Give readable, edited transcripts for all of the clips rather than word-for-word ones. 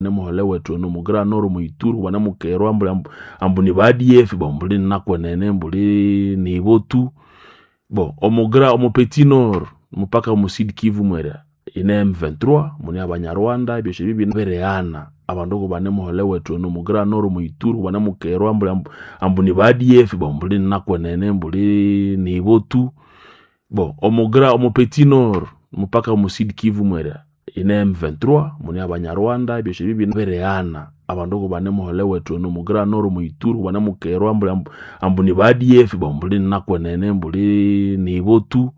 Nemuhole wethu eno omu Grand Nord, omu Ituri banemukerwa ambu ni ba ADF bo mbuli nakwenene mbuli nibo tu. Bo omu Petit Nord mpaka omu Sud Kivu mwerya ine M23 mune Abanyarwanda ebyosi ebi birighana abandu kubanemuhole wethu eno omu Grand Nord, omu Ituri banemukerwa ambu ni ba ADF bo mbuli nakwenene mbuli nibo tu. Bo omu Petit Nord mpaka omu Sud Kivu mwerya ine M23 mune Abanyarwanda ebyosi ebi birighana abandu kubanemuhole wethu eno omu Grand Nord, omu Ituri banemukerwa ambu ni ba ADF bo mbuli nakwenene mbuli nibo tu.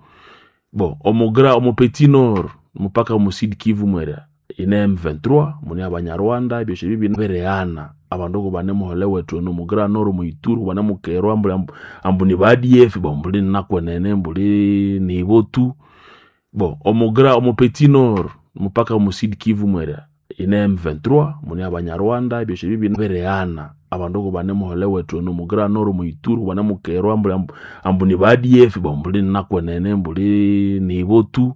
Bo omu Petit Nord mpaka omu Sud Kivu mwerya ine M23 mune Abanyarwanda ebyosi ebi birighana abandu kubanemuhole wethu eno omu Grand Nord, omu Ituri banemukerwa ambu ni ba ADF bo mbuli nakwenene mbuli nibo tu. Bo omu Petit Nord mpaka omu Sud Kivu mwerya ine M23 mune Abanyarwanda ebyosi ebi birighana abandu kubanemuhole wethu eno omu Grand Nord, omu Ituri banemukerwa ambu ni ba ADF bo mbuli nakwenene mbuli nibo tu.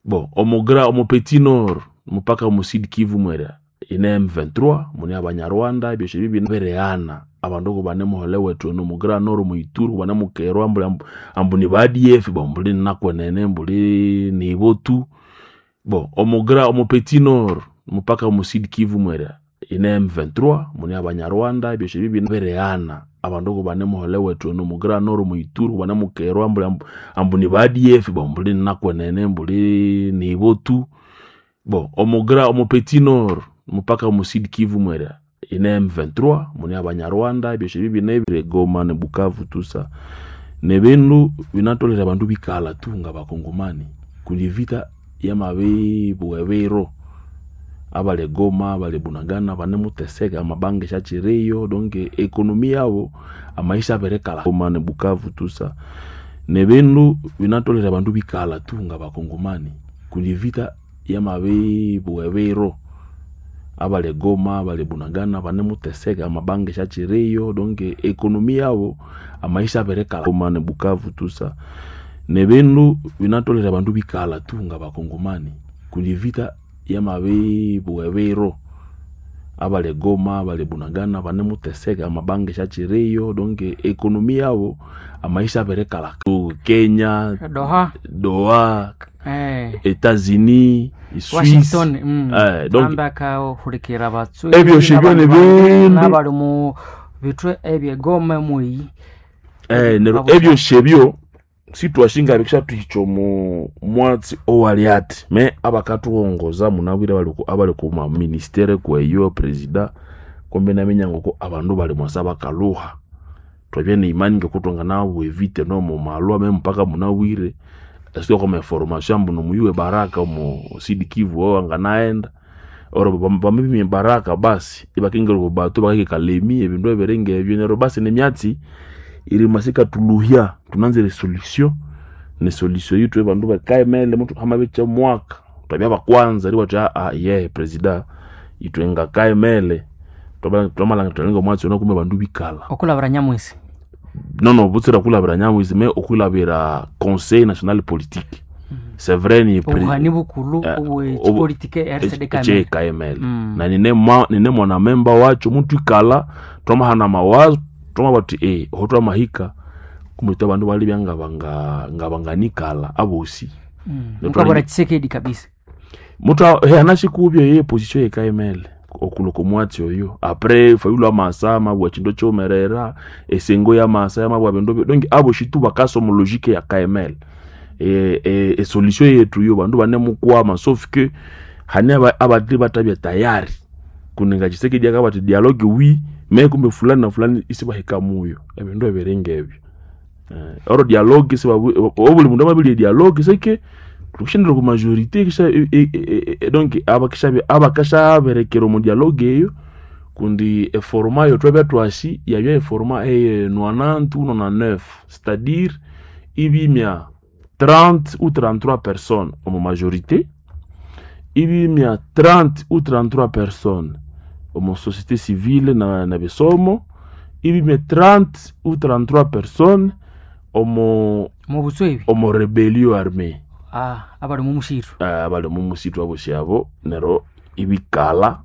Bo omu Petit Nord mpaka omu Sud Kivu mwerya ine M23 mune Abanyarwanda ebyosi ebi birighana abandu kubanemuhole wethu eno omu Grand Nord, omu Ituri banemukerwa ambu ni ba ADF bo mbuli nakwenene mbuli nibo tu. Bo omu Petit Nord mpaka omu Sud Kivu mwerya ine M23 mune Abanyarwanda ebyosi ebi birighana abandu kubanemuhole wethu eno omu Grand Nord, omu Ituri banemukerwa ambu ni ba ADF bo mbuli nakwenene mbuli nibo tu. Bo omu Petit Nord mpaka omu Sud Kivu mwerya ine M23 mune Abanyarwanda ebyosi ebi Goma ne Bukavu tusa nebindu binatolere abandu bikalha tu ngabakongomani kundi evita yamabibugha ebiro abali Goma, abali Bunagana banemuteseka amabanka isyakyiriyo donc economy yabo amaisha abirikalha. Goma ne Bukavu tusa nebindu binatolere abandu bikalha tu ngabakongomani kundi evita yamabibugha ebiro abali Goma, abali Bunagana banemuteseka amabanka isyakyiriyo donc economy yabo amaisha abirikalha. Goma ne Bukavu tusa nebindu binatolere abandu bikalha tu ngabakongomani kundi evita yamabibugha ebiro abali Goma, abali Bunagana banemuteseka amabanka isyakyiriyo donc economy yabo amaisha abirikalha. Kenya, Doha, Doha, Etats-Unis, Suisse, Washington, donc amba akahulikira abatswe ebyosi ebyo nebindu n'abali mu bitwe ebyegoma mweyi neryo ebyosi ebyo sitwashinga bikishathuhikya omu mwatsi owali athi me abakathughongoza munabwire abali ku maministere kweyo president kumbe naminya ngoko abandu bali mwasa bakalhuha. Twabya neimani ngoko thwanganabugha evita nomo malwa me mpaka munabwire esithuka kwama information ambu nomuyuwe Baraka omo Sud Kivu owo anganaghenda or bamabiminya Baraka basi ibakingira oko bato bakahika Kalemi ebindu ebiri ngebyo neryo basi nemyatsi irima sikathulhuhya thunanzire esolution nesolution yitu abandu bakaghemele hamabikya mwaka thwabya bakwanza eribugha thuthi yehe president ithwe ngakaghemele thwamalhangira thuthi omwatsi ono kumbe abandu bikalha. Okulabira Nyamwisi Nono butsira kulabira Nyamwisi me okwilabira Conseil National Politique. C'est vrai ni obuhani bukulhu obwekipolitike RCD Kamele KML. Na nine mwana memba wakyo muthwikalha twamahana amawazo twamabugha thuthi oho twamahika kumbe ithwe abandu balibya ngabanganikalha abosi. Mukabura Tshisekedi kabisa. Muthu anashikubya ye position ye KML okulwa omwatsi oyo apres Fayulu amasa amabugha ekindu ekyiwumerera esengo yamasa yamabugha bindu donc abosi tu bakasa omu logique ya KML. Esolution yethu yo bandu banemukwama sauf que hane abandi bathabya tayari kundi nga Tshisekedi akabugha athi dialogue oui me kumbe fulani na fulani isibahika muyo ebindu ebiri ngebyo. Oro dialogue obuli mundu amabirya edialogue seke thukisyaghenda okwa majorité donc abakasyaberekera omu dialogue eyo kundi eforma eyo thwabya thwasi yabya eforma eye 90 ou 99 c'est-à-dire ibimya 30 ou 33 personnes omu majorité ibimya 30 ou 33 personnes omu société civile na bisomo ibimya 30 ou 33 personnes omu mubutswebi omu rebellion armée abali mu mushiru abali omu musitu abosi abo neryo ibikalha.